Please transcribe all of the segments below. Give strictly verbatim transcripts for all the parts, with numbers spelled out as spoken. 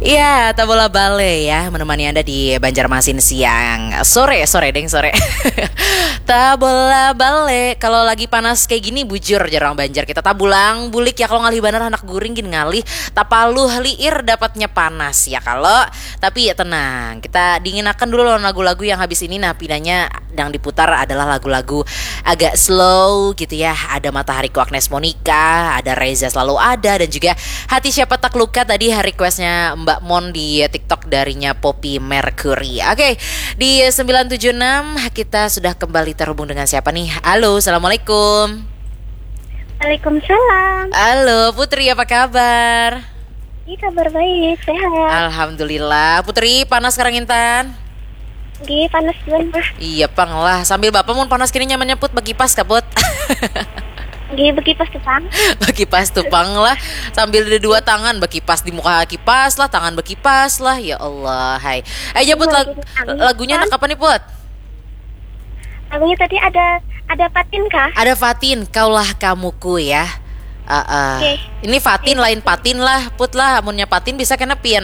Ya, Tabola Bale ya, menemani Anda di Banjarmasin siang. Sore, sore deng, sore. Tabola Bale, kalau lagi panas kayak gini bujur jarang Banjar kita tabulang bulik ya, kalau ngalih banar anak guring gin ngalih, tapaluh liir dapatnya panas ya kalau. Tapi ya tenang, kita dinginakan dulu lawan lagu-lagu yang habis ini. Nah, pinanya yang diputar adalah lagu-lagu agak slow gitu ya. Ada Matahariku Agnes Monica, ada Reza Selalu Ada, dan juga Hati Siapa Tak Luka tadi requestnya Mbak Mon di TikTok darinya Poppy Mercury. Oke, di sembilan tujuh enam kita sudah kembali terhubung dengan siapa nih? Halo, assalamualaikum. Waalaikumsalam. Halo Putri, apa kabar? Ini kabar baik, sehat. Alhamdulillah. Putri, panas sekarang Intan? Gih, panas juga mah. Iya pang lah. Sambil bapak mun panas kini nyamannya Put, bekipas kah Put? Gih, bekipas tuh pang. Bekipas tuh pang lah. Sambil ada dua tangan, bekipas di muka kipas lah, tangan bekipas lah. Ya Allah, hai. Eh, ya Put, lag- lagunya anak apa nih Put? Lagunya tadi ada ada Fatin kah? Ada Fatin, Kaulah Kamuku ya. Uh, uh. Oke. Ini Fatin lain Patin lah, Put lah. Amunnya Patin bisa kena pian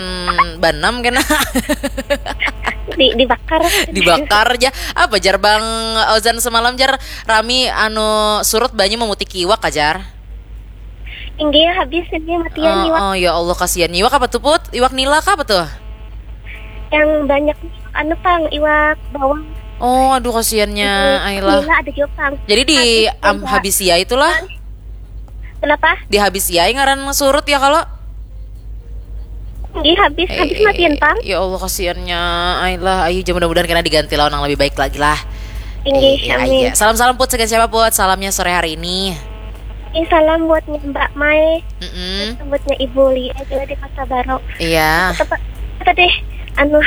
banam kena. Di, dibakar. Dibakar aja. Apa jar Bang Ozan semalam jar, rami anu surut banyu memutiki iwak ajar. Inggih, habis ini matian oh, iwak. Oh ya Allah, kasihan. Iwak apa tuh Put? Iwak nila kah apa tuh? Yang banyak anu pang, iwak bawang. Oh, aduh kasihannya. Ayolah. Nila ada juga pang. Jadi di am, habis ya itulah. Kenapa? Di habis ya ngaran surut ya kalau. Di habis habis matian pang. Ya Allah, kasihannya. Ayolah, ayo mudah-mudahan kena diganti lawan yang lebih baik lagi lah. Inggih, amin. Salam-salam Put, segan siapa Put? Salamnya sore hari ini. Ini salam buatnya Mbak Mai, Mm-mm. Buatnya Ibu Lia juga di Pasar Baru. Iya. Apa tadi? Anu,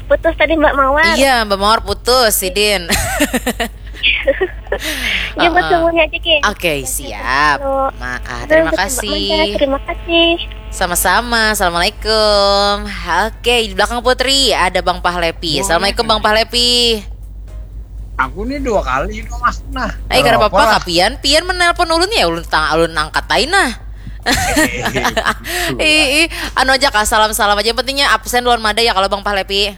putus tadi Mbak Mawar. Iya, Mbak Mawar putus, Sidin. Ya, buat semuanya aja, Ki. Oke, siap. Maaf, terima kasih. Terima kasih. Sama-sama. Assalamualaikum. Oke, di belakang Putri ada Bang Pahlepi. Assalamualaikum Bang Pahlepi. Aku nih dua kali itu masuk nah. Eh, kada apa-apa kah pian, pian menelpon ulun ya, ulun tang ulun angkat aja nah. Ih, ih, anu aja kah, salam-salam aja, yang pentingnya absen lawan mada ya kalau Bang Pahlepi.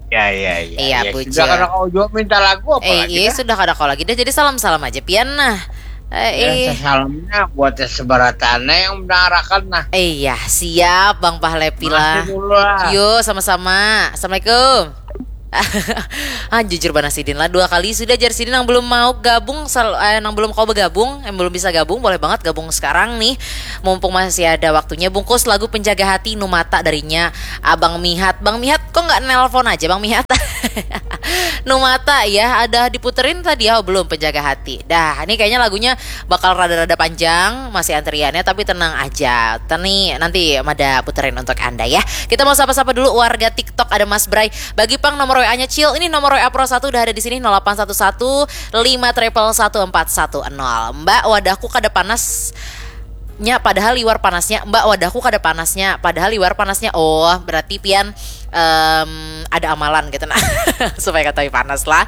Ya ya ya. Iya, ya, bujur. Sudah kada kau jawab minta lagu apa Eh, lagi iya dah? Sudah kada kau lagi dah, jadi salam-salam aja pian nah. Eh, Ya, eh. Salamnya buat yang sebaratannya yang mendengarkan nah. Eh, iya, siap Bang Pahlepi lah. Makasih dulu lah. Yo, sama-sama. Assalamualaikum. Ah, jujur banar sidin lah, dua kali sudah jar sidin yang belum mau gabung, sal- eh, yang belum kau bergabung, yang belum bisa gabung, boleh banget gabung sekarang nih. Mumpung masih ada waktunya, bungkus lagu Penjaga Hati Numata darinya Abang Mihat. Bang Mihat, kok nggak nelpon aja Bang Mihat? Numata ya, ada diputerin tadi ya, oh, belum Penjaga Hati. Dah, ini kayaknya lagunya bakal rada-rada panjang, masih antriannya, tapi tenang aja. Tani nanti mada puterin untuk Anda ya. Kita mau sapa-sapa dulu warga TikTok, ada Mas Bray. Bagi pang nomor W A-nya Cil. Ini nomor W A Pro satu udah ada di sini, nol delapan satu satu lima triple satu empat satu nol. Mbak, wadahku kada panas. Nya padahal liwar panasnya, Mbak, wadahku kada panasnya padahal liwar panasnya. Oh, berarti pian em, ada amalan gitu nah. Supaya katahui panas lah.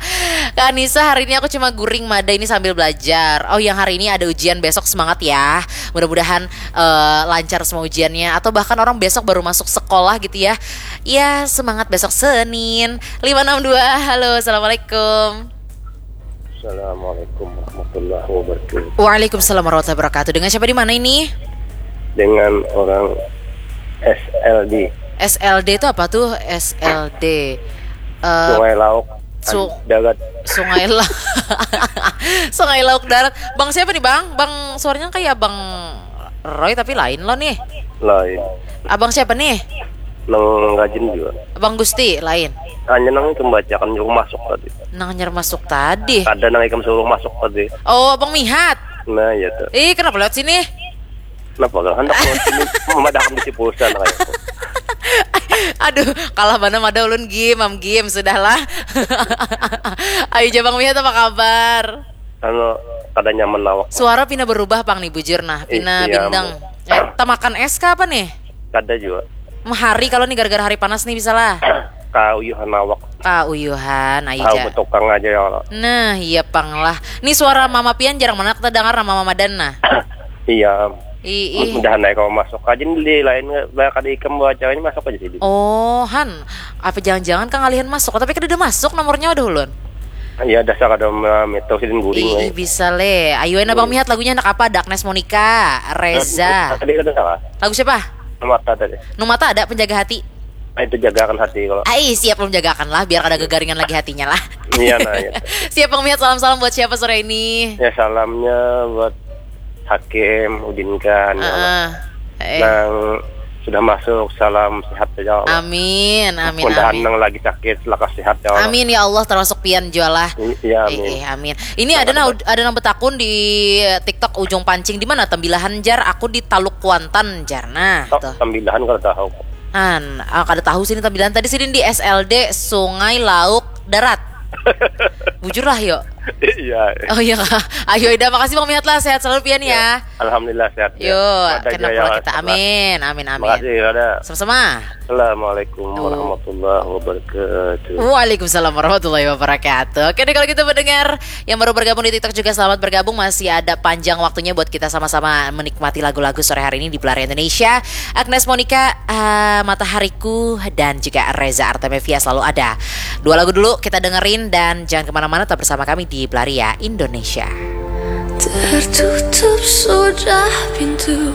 Kak Anissa, hari ini aku cuma guring mada ini sambil belajar. Oh, yang hari ini ada ujian, besok semangat ya. Mudah-mudahan eh, lancar semua ujiannya, atau bahkan orang besok baru masuk sekolah gitu ya. Ya, semangat besok Senin. Lima enam dua. Halo, assalamualaikum. Assalamualaikum warahmatullahi wabarakatuh. Waalaikumsalam warahmatullahi wabarakatuh. Dengan siapa di mana ini? Dengan orang S L D, S L D itu apa tuh? S L D. Eh, Sungai Lauk, Su- Darat. Sungai La- Sungai Lauk Darat. Bang siapa nih, Bang? Bang, suaranya kayak Abang Roy tapi lain lo nih. Lain. Abang siapa nih? Nang rajin juga. Abang Gusti lain. Hanya nang itu membacakan juga masuk tadi. Nang nyar masuk tadi. Ada nang ikam suruh masuk tadi. Oh, Abang Mihat. Nah, ya tuh. Ih, kenapa lewat sini? Kenapa kan hendak mau sini memadahkan bisi pulsa nah, kayak. Aduh, kalah mana ada ulun game, am game sudahlah. Ayo, Jabang Mihat, apa kabar? Anu, kada nyaman awak. Suara pina berubah pang nih, bujur nah, pina Iya, bindang. Eh, tamakan es kah apa nih? Kada juga. Hari kalau nih gara-gara hari panas nih bisa lah. Kauyuhan awak. Kauyuhan, ayo Tahu ja. Betukang aja ya kalau. Nah, iya pang lah. Nih suara mama pian jarang mana kita dengar, mama madan nah. Iya. Ih, ih. Mudahan naik kamu masuk aja nih, lain banyak ada ikam bawa acaranya, masuk aja sini. Oh, han. Apa jangan-jangan kang alihan masuk? Tapi kada ada masuk nomornya, waduh ulun. Ya dasar kada memeto sidin guring. Ih, ih, bisa le. Ayo, enak bang mihat lagunya anak apa? Ada Agnes Monica, Reza. Tadi kada salah. Lagu siapa? Numata tadi. Numata ada Penjaga Hati. Ah, itu jagakan hati kalau. Ai, siap menjagakan lah, biar kada gegaringan lagi hatinya lah. Iya nah ya. Siap bang mihat, salam-salam buat siapa sore ini? Ya salamnya buat Hakim, Udin Khan, ya Allah. Heeh. Eh. Nang sudah masuk, salam sehat ya Allah. Amin, amin, Mudahan amin. Nang lagi sakit lekas sehat ya Allah. Amin ya Allah, termasuk pian jua lah. Iya, amin. Eh, eh, amin. Ini ada nang ada nang betakun di TikTok Ujung Pancing, di mana Tembilahan jar? Aku di Taluk Kuantan jar. Nah, Tok, tuh. Tembilahan kalau tahu. An, ah, kada tahu sini Tembilahan. Tadi sidin di S L D Sungai Lauk Darat. Bujur lah yo. Iya. Oh iya kah? Ayo Ida, makasih Bang Mihat lah, sehat selalu pian ya. Alhamdulillah sehat. Yo, Ada kena jaya pulang lah, kita. sehat. Amin, amin, amin. Makasih ada. Sama-sama. Assalamualaikum warahmatullahi wabarakatuh. Waalaikumsalam warahmatullahi wabarakatuh. Oke deh, kalau gitu pendengar yang baru bergabung di TikTok juga selamat bergabung. Masih ada panjang waktunya buat kita sama-sama menikmati lagu-lagu sore hari ini di Pelari Indonesia. Agnes Monica, ah, Matahariku, dan juga Reza Artamevia selalu ada. Dua lagu dulu kita dengerin dan jangan kemana-mana, tetap bersama kami di Belaria Indonesia. Tertutup sudah pintu